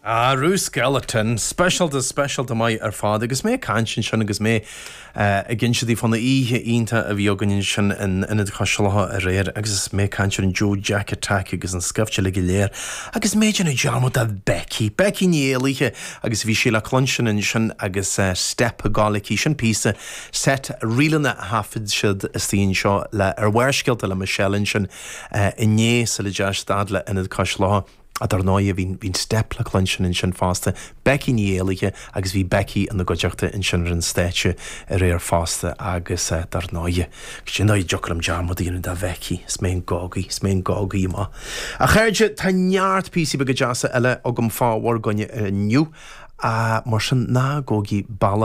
Arú Skeleton, speisialta, speisialta maith ar fad agus mé ag caint ansin agus mé ag inse daoibh fán oíche iontach a bhí againn ansin in Ionad Chois Locha aréir agus mé ag caint ar an Joe Jack Attack agus an scaifte uilig go léir agus mé ag déanamh dearmad de Becky, Becky Ní Éalaithe agus bhí sí le cluinstin ansin agus Step ag gabháil aici, sin píosa set ríleanna a thaifead siad istigh anseo le ar Bharrscéalta le Michelle ansin inné sula dteachaigh siad fhad le Ionad Cois Locha. Dar ndóighe, bhí bhí an Step le cluinstin ansin fosta, Becky Ní Éalaithe agus bhí Becky ina gcuideachta ansin ar an stáitse aréir fosta agus dar ndóighe, cad é an dóigh a dtiocfadh liom dearmad a dhéanamh de Bhecky, is mé an gogaí, is mé an gogaí amach. A chairde, tá neart píosaí beaga deasa eile agam fá bhur gcoinne inniu, mar sin ná gabhaigí bealach.